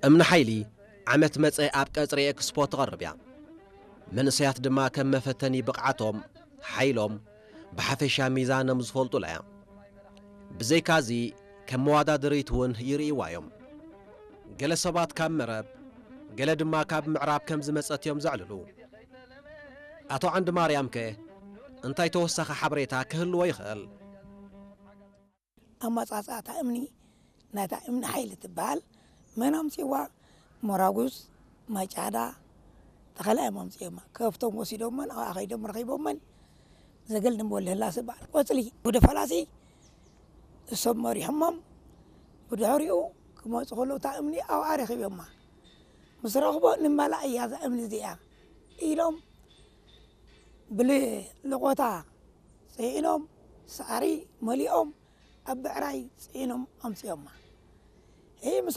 እምኒ ሓይሊ ዓመት መጸ ኣብ ቀጽሪ ኤክስፖ ትቐርብ እያ። መንእሰያት ድማ ከም መፈተኒ ብቕዓቶም፣ ሓይሎም፣ ብሓፈሻ ሚዛኖም ዝፈልጡላ እያ። ብዘይካዚ ከም መዋዳድሪት እውን ይርእይዋ እዮም። ገለ ሰባት ካብ መረብ፣ ገለ ድማ ካብ ምዕራብ ከም ዝመጸት እዮም ዘዕልሉ። ኣቶ ዓንዲ ማርያምከ እንታይ ተወሳኺ ሓበሬታ ክህልዎ ይኽእል? ኣመጻጽኣታ እምኒ ናይታ እምኒ ሓይሊ ትበሃል መን ኣምጺዋ? ሞራጉስ፣ ማይጫዳ፣ ተኸላ እዮም ኣምጺኦማ። ከፍቶም ወሲዶመን ኣብኣ ከይዶም ረኺቦመን። ዘገል ድንቦል ህላስ በዓል ቆጽሊ ወደ ፈላሲ እሶም መሪሖሞም። ብድሕሪኡ ክመጹ ከለዉ እታ እምኒ ኣብኣ ረኺቦማ። ምስ ረኽቦ ንመላእ እያ እዛ እምኒ እዚኣ ኢሎም ብልቆታ ጽዒኖም ሳዕሪ መሊኦም ኣብ ብዕራይ ጽዒኖም ኣምጺኦማ።